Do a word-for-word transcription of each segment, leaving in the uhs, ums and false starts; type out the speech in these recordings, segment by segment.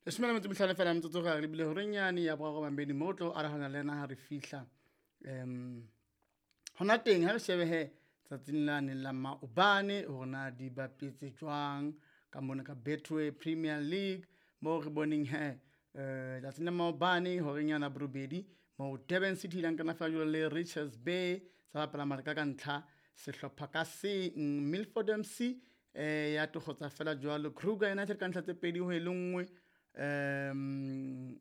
Leshome le metso e mehlano feela metsotso re lebile horeng yane ya boraro bambedi mo re tlo arahana le yena ha re fihla um hona teng ha re shebe he tsatsing lane la maobane hore na di bapetse jwang ka mona ka Betway Premier League moo re boneng he eh tsatsing la maobane horeng yana borobedi moo Durban City ile nkana fela jwalo le Richards Bay tsa bapala maleka ka ntlha sehlopha ka seng. Milford M C eh ya tokgotsa fela jwalo Kruger United ka ntlha tse pedi ho e le nngwe. Um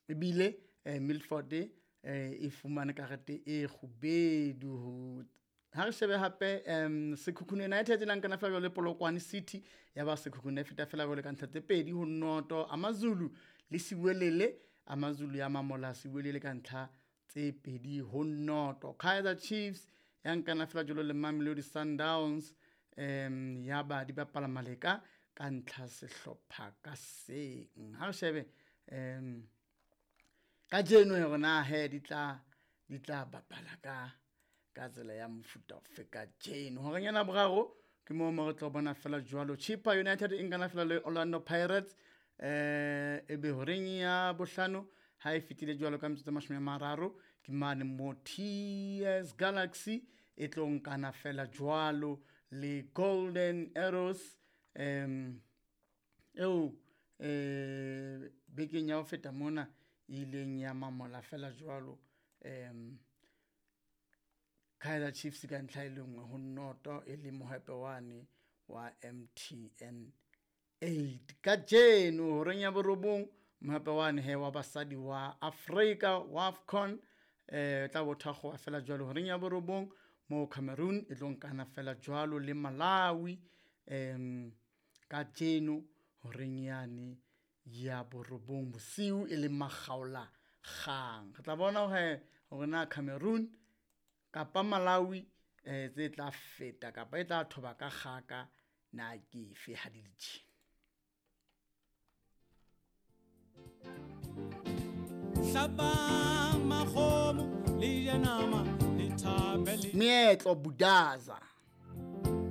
ebile eh, Milford eh, e fumane karete e kgubedu. Ha re shebe hape um Sekhukhune United e lankana fela jwalo le Polokwane City ya ba Sekhukhune e feta fela jwalo ka ntlha tse pedi ho noto. AmaZulu le Siwelele, AmaZulu ya mamola Siwelele ka ntlha tse pedi ho noto. Kaizer Chiefs ya nkana fela jwalo le Mamelodi Sundowns um ya ba di bapala maleka ka ntlha sehlopha ka seng. Ha re shebe um kajeno hore na he di tla di tla bapala ka ka tsela ya mofuta ofe kajeno. Horeng yana boraro ke moo mo re tlo bona fela jwalo Chippa United e nkana fela le Orlando Pirates eh ebe horeng ya bohlano ha e fetile jwalo ka metsotso e mashome a mararo ke mane mo T S Galaxy e tlo nkana fela jwalo le Golden Arrows um eo eh bekeng ya ho feta mona e ileng ya mamola fela jwalo um Kaizer Chiefs ka ntlha e le nngwe ho noto e le mohape wane wa M T N eight. Kajeno horeng ya borobong mohape wane he wa basadi wa Afrika wa AFCON eh tla bo thakgoha fela jwalo horeng ya borobong mo Cameroon e tlo nkana fela jwalo le Malawi um kajeno horeng yane ya borobong bosiu e le makgaola kgang. Re tla bona hore hore na Cameroon kapa Malawi eh tse tla feta kapa e tla thoba ka kgaka na ke efe ha di le tjena. Hlabang makgomo le je nama le thabe le Meetlo Budaza.